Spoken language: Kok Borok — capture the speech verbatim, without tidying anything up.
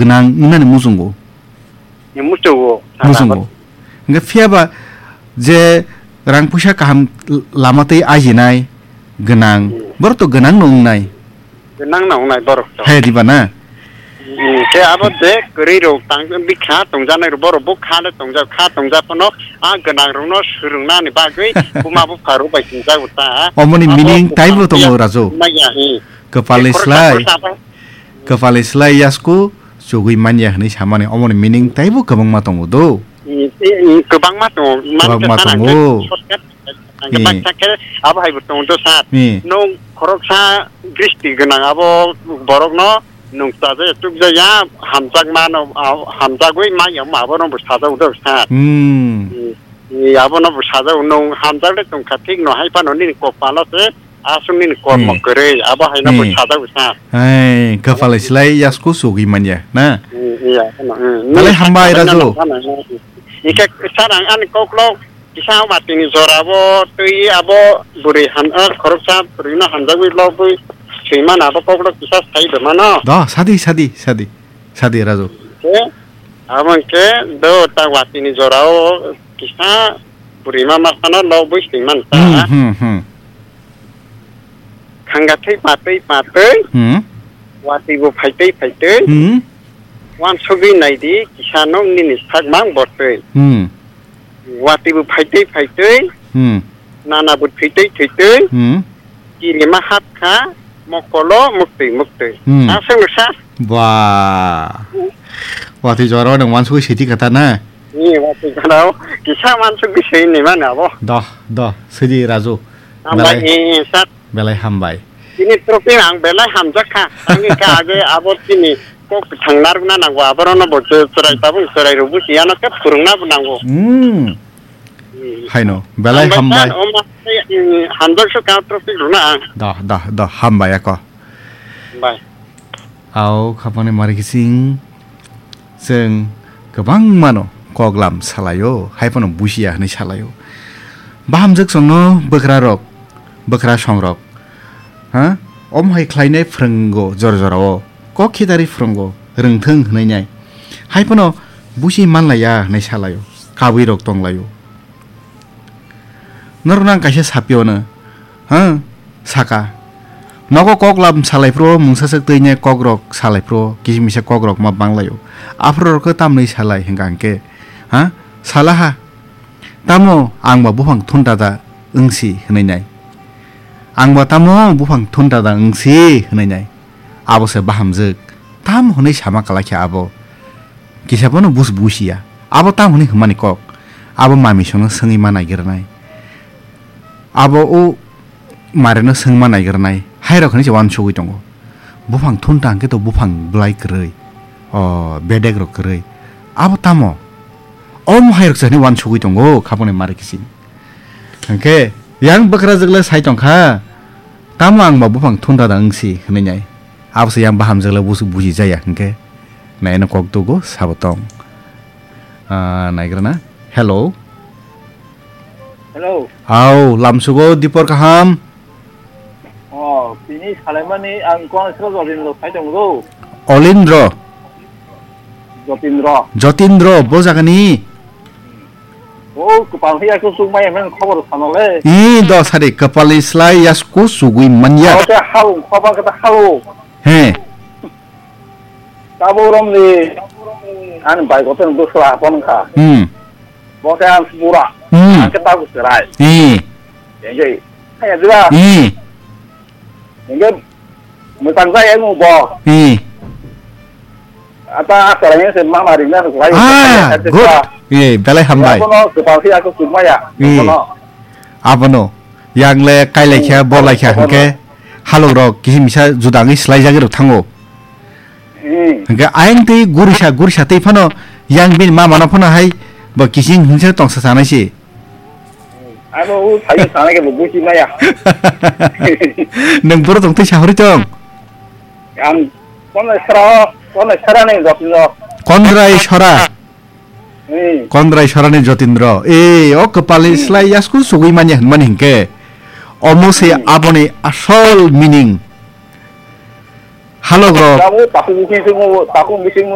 gwnang wngnani muchungo. Muchungo. Muchungo. Hwnkhe phiyaba je rang puisa kaham lama twi ajinai gwnang, hmm, borok to gwnang no wngnai. Gwnang no wngnai borok to. Hai diba na? Hmm, khe abo je kwrwi rok tang bikha tongjanai rok borok bo kha le tongjak, kha tongjak phano a gwnang rok no swrwng nani bagwi buma bupha rok bai tongjago ta. Omoni abo meaning taibo tongo, Raju. Maya, hmm. Kwpalni slai. Kwpalni slai yasku chugui manya hwnwi samani omoni meaning taibo kwbangma tongo do. Mm, mm, kwbangma tongo. Kwbangma tongo. Ang khe baksa khe abo hai bo tongo do sir. Nwng khoroksa dristi gwnang abo borokno nwng chajaya chukjaya hamjakmano, ah, hamjagwi manya wngma abono bo sajao do sir. Hmm. Mm, mm, abono bo sajao nwng hamjakle tongkha thik no hai phano nini kok pala se. Aswk nini kormo kwrwi, abo haino bo sajagwi sa. Hai, kwpalai slai yasku sugwi manya, na? Hmm, iya, ano, hmm. Belai hambai, Raju. Hingke sir, ang ani koklo kisa watini jorabo twi abo bwrwi ham, ah, khoroksa bwrwino hamjagwi lobwi swimano abo koklo kisa sai do mano. Do, sadi, sadi, sadi. Sadi, Raju. Hingke, abo hingke do ta watini jorao kisa bwrwima masano lobwi swimano ta. Hmm, hmm, hmm. Khangathwi patwi patwi, hmm, watwi bo phaitwi phaitwi, hmm, wansugwi naidi kisa nwng nini sak mang bortwi. Hmm. Watwi bo phaitwi phaitwi, hmm, nana bo thwitwi thwitwi, hmm, kirima hapkha mokolo muktwi muktwi. Hmm. Aswk sa. Ba. Watwi jorao nwng wansugwi siti kata na? Ni watwi jorao kisa wansugwi sini mano abo. Doh, doh, sidi Raju. Hambai, belai, eh, sir. Belai hambai. Chini trophy ang belai hamjak kha. Ang kha age abo chini kok thang narwkna nango, aborono bo chwrai tabuk chwrai rwbu chiyano khe phwrwngna bo nango. Hmm. Hmm. Haino, belai hambai. Hambai sir, o ma, eh, hamjak so ka trophy rwna ang. Doh, doh, doh, hambai ako. Hambai. Au khapani mari kising chwng kwbangmano koklam salaio, hai phano busiya hwnwi salaio. Bahamjwk chwngno bwkrarok, bwkra songrok, ha? Omo hai khlainai phwrwngo jora jorao, kok khitari phwrwngo, rwngthwng hwnwi nai. Hai phano busi manlaiya hwnwi salaio, kabuirok tonglaio. Norokno ang kaisa sapiyano, ha, saka. Nogo koklam salai phuru mungsa swk twi ne kokrok salai phuru kisa misa kokrok ma banglaio. Aphuru rok tamni salai hwnkha hwnkhe, ha, salaha. Tamo ang ba buphang thun dada wngsi hwnwi nai. Ang ba tamo buphang thun dada wngsi hwnwi nai. Abo se bahamjwk. Tamo hwnwi sama kwlai khe abo. Kisa bono bus busiya. Abo tamo hwnwi hwnmani kok. Abo mami sono swngwi ma naigrwnai. Abo o marino swngma naigrwnai. Hairok hwnwi se uansugwi tongo. Buphang thunta hwnkhe to buphang bwlai kwrwi. O bedek rok kwrwi. Abo tamo? Omo hairok se hwnwi uansugwi tongo. Khaponi mari kising. Hwnkhe yang bwkrajwk le sai tongkha, tamo ang ba buphang thunda da wngsi hwnwi nai. Abo se yang bahamjwk le busu buji jaya hwnkhe. Naino kok tugo sabo tong. Ah, naigrana. Hello. Hello. Au, lamsugo dipor kaham. Oh, tini salaimani ang kono sro Jotindro sai tongo. Olindro. Jotindro. Jotindro, bo jagani? Oh, kwpal hiya kusuk maya men khobor sanale. I do sari kwpalni slai yasku sugwi manya. Oh, te hau, khoba kata hau. He. Tabo romni, ani bai goten dusra hapon kha. Hmm. Bo khe ang sibura. Hmm. Ang khe tabu serai. Hmm. Enjoy. Kaya dira. Hmm. Enjoy. Mutang jai ang bo. Hmm. Ata serai se mama ringna serai. Ah, good. Eh, belai hambai. Bono kwpal khe aku sukmaya. Hmm. Bono. Abono. Yang le kailai khe, hmm, bolai khe, abono. Hwnkhe halok rok kisi misa judangwi slai jagwi rok thango. Hmm. Hwnkhe ayang twi gurisa, gurisa twi phano yang bini mama no phano hai bo kising hinsa tongsa sanai se. Ano u sai sanai ke bo buji maya. Nwng boro tong twi sahori tong. Ang kono sara, kono sara ni jotno. Kondrai sara. Hmm. Kondrai sorani Jotindro. E, o kwpalni, hmm, slai yasku sugwi manya hwnmani hinkhe. Omo se, hmm, aboni asol meaning. Halok rok. Tabu, tabu bising sung, tabu bising